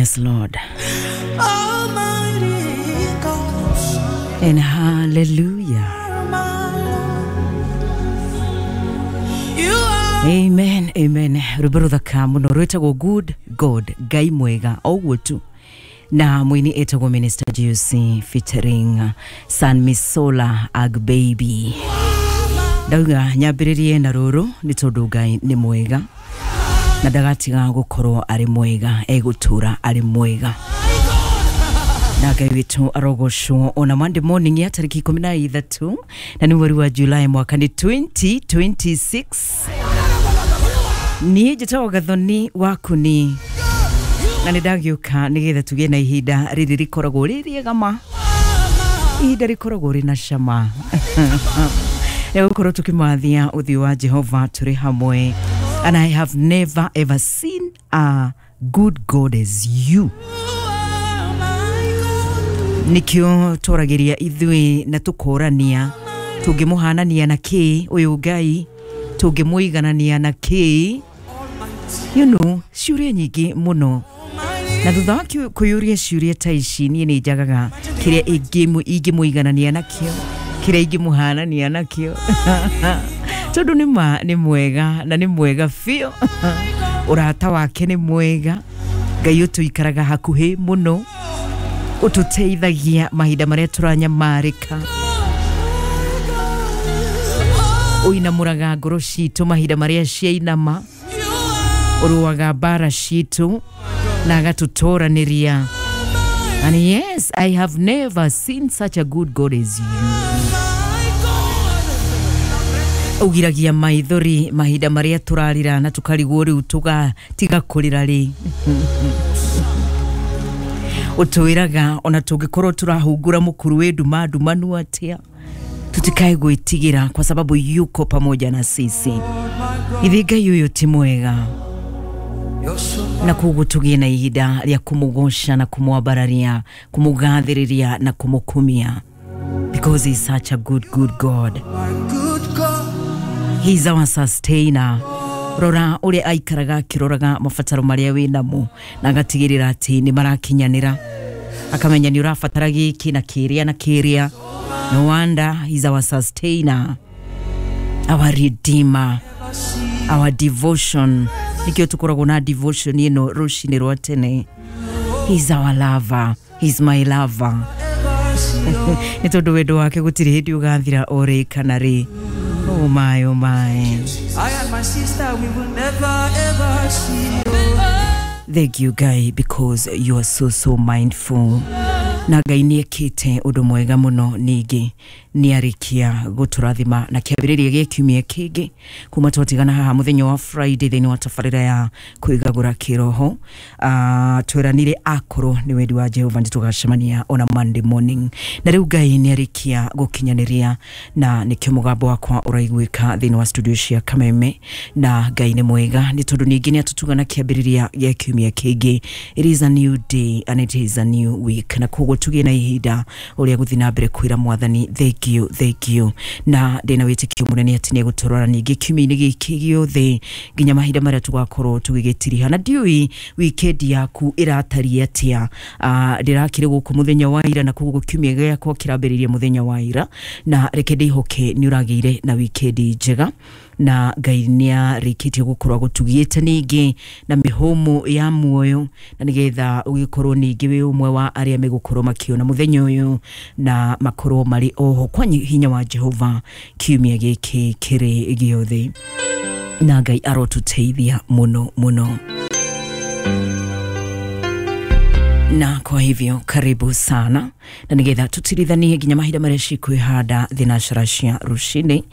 Yes, Lord. And hallelujah. Amen, amen. Rwĩmbo rũthaka mũno rwĩtagwo Good God, Ngai mwega, o ũguo tu. Na mwini etagwo Minister GOC featuring San Misola Agbaby. Ndauga nyambĩrĩrie na rũrũ nĩ tondũ Ngai nĩ mwega na ndagatiga gũkorwo arĩ mwega, egũtũra arĩ mwega. Na Ngai witũ arogocwo ona Monday morning ya tarĩki 13 na nĩ mweri wa July mwaka nĩ 2026. Niĩ njĩtagwo Gathoni Wakuni na nĩ ndagĩũka nĩgetha tũgĩe na ihinda rĩrĩ rĩkoragwo rĩ rĩega ma, ihinda rĩkoragwo rĩna cama rĩa gũkorwo tũkĩmathia ũthiũ wa Jehova tũrĩ hamwe. And I have never ever seen a good God as you. Nikio tũragĩria ithuĩ na tũkorania tũngĩmũhanania na kĩ ũyũ Ngai, tũngĩmũiganania na kĩ, you know, ciũria nyingĩ mũno. Na thutha wa kũyũria ciũria ta ici, niĩ nĩ njagaga kĩrĩa ingĩmũiganania nakĩo, kĩrĩa ingĩmũhanania nakĩo, tondũ nĩ ma nĩ mwega na nĩ mwega biũ. Ũrata wake nĩ mwega. Ngai ũtũikaraga hakuhĩ mũno, ũtũteithagia mahinda marĩa tũranyamarĩka, ũinamũraga ngoro citũ mahinda marĩa ciainama, ũrũaga mbara citũ na agatũtoranĩria. And yes, I have never seen such a good God as you. Ũgiragia maithori mahinda marĩa tũrarĩra na tũkarigwo rĩu tũgatiga kũrĩra rĩ. Ũtwĩraga ona tũngĩkorwo tũrahungura mũkuru wĩ nduma ndumanu atĩa, tutikae gwĩtigĩra kwa sababu yuko pamoja na sisi. Ithe Ngai ũyũ ti mwega, na koguo tũgĩe na ihinda rĩa kũmũgoca na kũmwambararia, kũmũgathĩrĩria na kũmũkumia, because he's such a good, good God. He's our sustainer. Rora ũrĩa aikaraga akĩroraga mabataro marĩa wĩ namo na agatigĩrĩra atĩ nĩ marakinyanĩra, akamenya nĩ ũrabatara gĩkĩ na kĩrĩa na kĩrĩa. No wonder he's our sustainer, our redeemer, our devotion. Nikio tũkoragwo na devotion ĩno rũcinĩ rwa tene. He's our lover. He's my lover. Nĩ tondũ wendo wake gũtirĩ hĩndĩ ũgathira o rĩ kana rĩ. Oh my, oh my. I and my sister, we will never ever see. Thank you, Guy, because you are so, so mindful. Na Ngai nĩ ekĩte ũndũ mwega mũno, ningĩ nĩ arĩkia gũtũrathima na kĩambĩrĩria gĩa kiumia kĩngĩ kuma twatigana haha mũthenya wa Friday thĩinĩ wa tabarĩra ya kwĩgagũra kĩroho. Tweranire akorwo nĩ wendi wa Jehova nĩ tũgacemania ona Monday morning, na rĩu Ngai nĩ arĩkia gũkinyanĩria na nĩkĩo mũgambo wakwa ũraiguĩka thĩinĩ wa studio cia Kameme. Na Ngai nĩ mwega nĩ tondũ ningĩ nĩ atũtuga na kĩambĩrĩria gĩa kiumia kĩngĩ. It is a new day and it is a new week, na koguo tũgĩe na ihinda ũrĩa gũthiĩ na mbere kwĩra mwathani thank you, thank you. Na ndĩna wĩtĩkio mũnene atĩ nĩ egũtũrora ningĩ kiumia-inĩ gĩkĩ gĩothe nginya mahinda marĩa tũgakorwo tũgĩgĩtiriha. Na ndiũĩ weekend yaku ĩratariĩ atĩa. Ndĩrakĩrĩ gũkũ mũthenya wa ira, na koguo kiumia gĩakwa kĩrambĩrĩria mũthenya wa ira, na reke ndĩhoke nĩ ũragĩire na weekend njega na Ngai nĩ arĩkĩtie gũkorwo agũtugĩte ningĩ na mĩhũmũ ya muoyo, na nĩgetha ũgĩkorwo ningĩ wĩ ũmwe wa arĩa megũkorwo makĩona mũthenya ũyũ na makorwo marĩ oho kwa hinya wa Jehova kiumia gĩkĩ kĩrĩ gĩothe. Na Ngai arotũteithia mũno mũno. Na kwa hivyo karibu sana, na nigetha tutirithanie nginya mahinda marĩa cikwĩhanda thinacara cia rũcinĩ,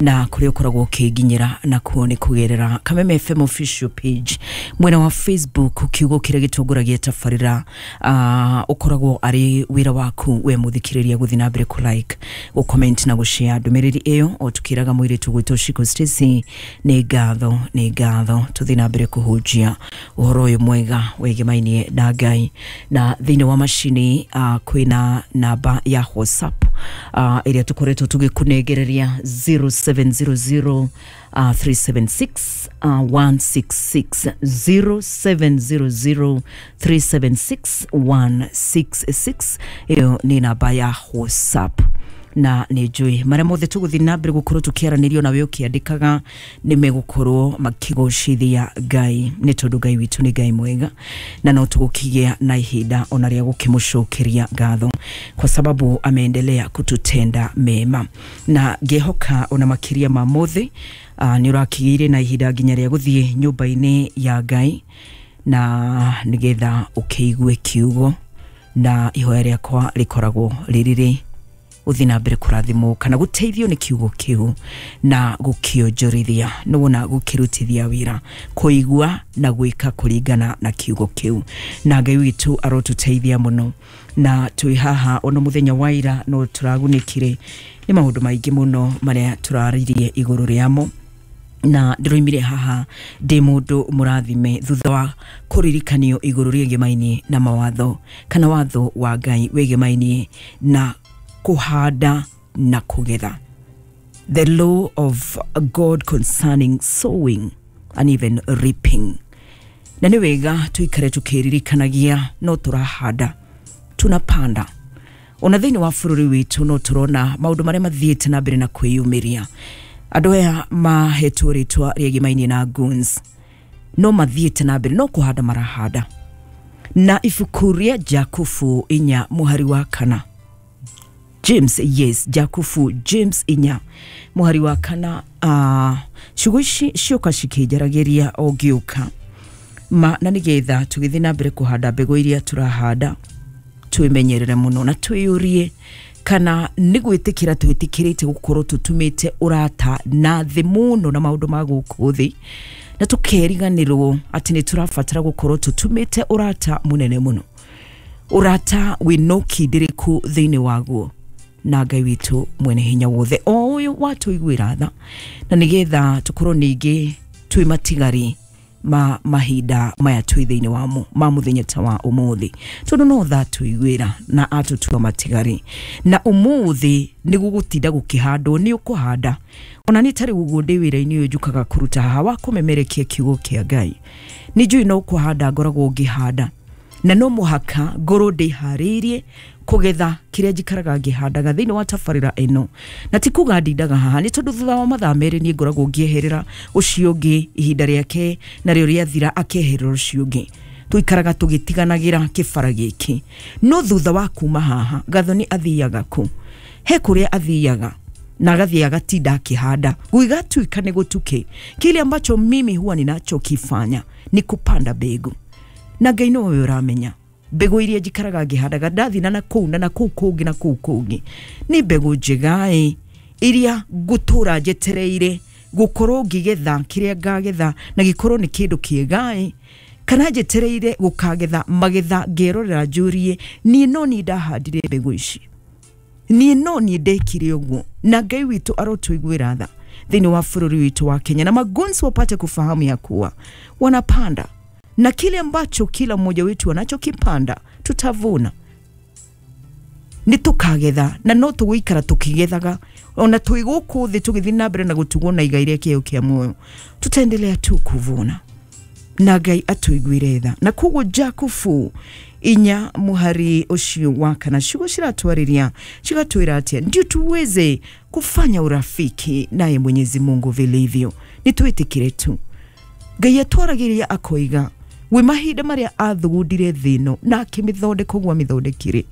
na kũrĩa ũkoragwo ũkĩnginyĩra nakuo nĩ kũgerera Kameme FM official page mwena wa Facebook, kiugo kĩrĩa gĩtongoragia tabarĩra. Ũkoragwo arĩ wĩra waku we mũthikĩrĩria gũthiĩ na mbere kũ like, gũ comment na gũ share ndũmĩrĩri ĩyo, o tũkĩraga mũirĩtu gwĩtwo Shiko Stacy nĩ ngatho, nĩ ngatho tũthiĩ na mbere kũhunjia ũhoro ũyũ mwega wĩgemainie na Ngai. Na thĩinĩ wa macini kwĩna na namba ya WhatsApp ĩrĩa tũkoretwo tũgĩkũnengereria 0700 376 166 0700 376 166. Ĩyo nĩ namba ya WhatsApp na nä njå marä a mothe tå gå thiä na mbere gå korwo tå kä aranä nawe å kä andä kaga nä megåkorwo makĩgocithia Ngai nä tondå Ngai witå nä Ngai mwega na no tå gå kĩgĩa na ihinda ona rĩa gũkĩmũcokeria ngatho kwa sababu ameendelea kututenda mema na ngĩhoka ona makĩria ma mothe nĩ ũrakĩgĩire na ihinda nginya rĩa gũthiĩ nyũmba-inĩ ya Ngai na nĩgetha ũkĩigue kiugo na ihoya rĩakwa rĩkoragwo rĩrĩrĩ uthi na mbere kũrathimwo kana gũteithio nĩ kiugo kĩu na gũkĩonjorithia nĩwona gũkĩrutithia wĩra kũigua na gwĩka kũringana na kiugo kĩu na Ngai witũ arotũteithia mũno na twĩ haha ona mũthenya wa ira no tũragunĩkire nĩ maũndũ maingĩ mũno marĩa tũraririe igũrũ rĩamo na ndĩroimire haha ndĩ mũndũ mũrathime thutha wa kũririkanio igũrũ rĩegemainie na mawatho kana watho wa Ngai wĩgemainie na kuhanda na kugetha. The law of God concerning sowing and even reaping. Na nĩ wega tuikare tukĩririkanagia no tũrahanda tunapanda. Ona thĩinĩ wa bũrũri witũ no tũrona maũndũ marĩa mathiĩte na mbere na kwĩyumĩria. Andũ aya mahetwo rĩtwa rĩegemainie na goons no mathiĩte na mbere no kũhanda marahanda. Na ibuku rĩa Jakubu 4 mũhari wa 4, James, yes, Jakubu James 4 mũhari wa 4, ciugo ici cioka cikĩnjaragĩria o ngĩũka ma na nĩgetha tũgĩthiĩ na mbere kũhanda mbegũ iria tũrahanda twĩmenyerere mũno na twĩyũrie kana nĩ gwĩtĩkĩra twĩtĩkĩrĩte gũkorwo tũtumĩte ũrata na thĩ mũno na maũndũ ma gũkũ thĩ na tũkeriganĩrwo atĩ nĩ tũrabatara gũkorwo tũtumĩte ũrata mũnene mũno, ũrata wĩna ũkindĩrĩku thĩinĩ waguo na Ngai witũ mwene hinya wothe o ũyũ watũiguĩra tha na nĩgetha tũkorwo ningĩ twĩ matigari ma mahinda maya twĩ thĩinĩ wamo ma mũthenya ta wa ũmũthĩ tondũ no tha tũiguĩra na atũtua matigari na ũmũthĩ nĩ gũgũtinda gũkĩhandwo nĩ ũkũhanda ona nĩ tarĩ ũguo ndĩ wĩra-inĩ ũyũ njũkaga kũruta haha wa kũmemerekia kiugo kĩa Ngai nĩ njũĩ no kũhanda ngoragwo ngĩhanda na no mũhaka ngorwo ndĩharĩirie kũgetha kĩrĩa njikaraga ngĩhandaga thĩinĩ wa tabarĩra ĩno na ti kuga ndindaga haha nĩ tondũ thutha wa mathaa merĩ niĩ ngoragwo ngĩeherera ũcio ũngĩ ihinda rĩake narĩo rĩathira akeherera ũcio ũngĩ tũikaraga tũgĩtiganagĩra kĩbara gĩkĩ no thutha wa kuma haha Gathoni athiaga kũ he kũrĩa athiaga na agathiĩ agatinda akĩhanda gũgĩgatuĩka nĩ gũtuke. Kile ambacho mimi huwa ninachokifanya ni kupanda mbegu na Ngai nowe ũramenya mbegũ iria njikaraga ngĩhandaga ndathi na kũu na kũu kũngĩ na kũu kũngĩ nĩ mbegũ njega ĩ iria ngũtũra njetereire gũkorwo ngĩgetha kĩrĩa ngagetha na gĩkorwo nĩ kĩndũ kĩega ĩ kana njetereire gũkagetha magetha ngerorera njũrie niĩ no niĩ ndahandire mbegũ ici niĩ no niĩ ndekire ũguo na Ngai witũ arotũiguĩra tha thĩinĩ wa bũrũri witũ wa Kenya na magonzi wapate kufahamu ya kuwa wanapanda na kile ambacho kila mmoja wetu anachokipanda tutavuna nĩ tũkagetha na no tũgũikara tũkĩgethaga ona twĩ gũkũ thĩ tũgĩthiĩ na mbere na gũtugwo na igai rĩa kĩheo kĩa muoyo tutaendelea tu kuvuna na Ngai atũiguĩre tha. Na koguo Jakubu 4 mũhari ũcio wa 4 ciugo ciratwarĩria cigatwĩra atĩa ndio tuweze kufanya urafiki naye Mwenyezi Mungu vilivyo nĩ twĩtĩkĩre tu Ngai atwaragĩria akoiga wĩ mahinda marĩa athugundire thĩ ĩno na akĩmĩthondeka ũguo amĩthondekire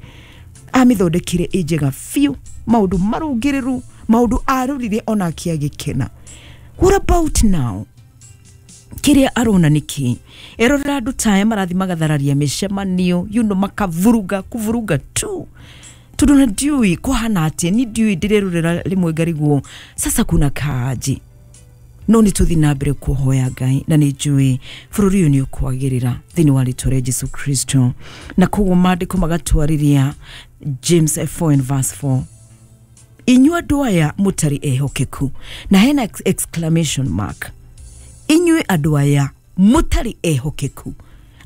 amĩthondekire ĩ njega biũ maũndũ marũngĩrĩru maũndũ arorire ona akĩagĩkena. What about now? Kĩrĩa arona nĩkĩ erorera andũ ta aya marathiĩ magathararia mĩcemanio you know, makavuruga kuvuruga tu tondũ na ndiũĩ kũhana atĩa ni ndiũĩ ndĩrerorera rĩmwe ngarigwo sasa kuna kaaje no nĩ tũthiĩ na mbere kũhoya Ngai na nĩ njũĩ bũrũri ũyũ nĩ ũkwagĩrĩra thĩinĩ wa rĩtwa rĩa Jesu Kristo. Na koguo maandĩko magatwarĩria James 4 and verse 4 inyuĩ andũ aya mũtarĩ ehokeku na hena exclamation mark inyuĩ andũ aya mũtarĩ ehokeku.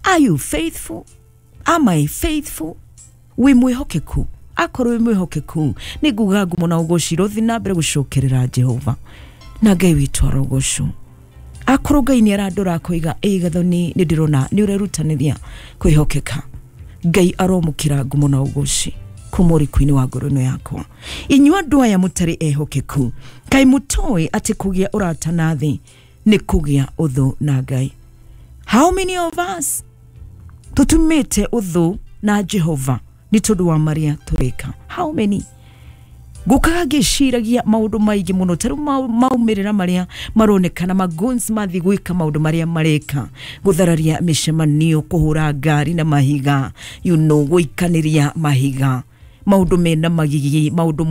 Are you faithful? Am I faithful? Wĩ mwĩhokeku Akorwo wĩ mwĩhokeku, nĩ nguga ngumo na ũgoci rũthi na mbere gũcokerera Jehova na Ngai witũ arogocwo. Akorwo Ngai nĩ arandora akoiga, ĩ Gathoni, nĩ ndĩrona nĩ ũrerutanĩria kwĩhokeka, Ngai aromũkĩra ngumo na ũgoci kuma ũriku-inĩ wa ngoro ĩno yakwa. Inyuĩ andũ aya mũtarĩ ehokeku, kaĩ mũtoĩ atĩ kũgĩa ũrata na thĩ nĩ kũgĩa ũthũ na Ngai? How many of us tũtumĩte ũthũ na Jehova nĩ tondũ wa marĩa tũreka? How many? Ngũkaga ngĩciragia maũndũ maingĩ mũno, ta rĩu maumĩrĩra marĩa maronekana maguns mathiĩ gwĩka maũndũ marĩa mareka, gũthararia mĩcemanio, kũhũra ngari na mahiga, gũikanĩria mahiga, maũndũ mena magigi, maũndũ.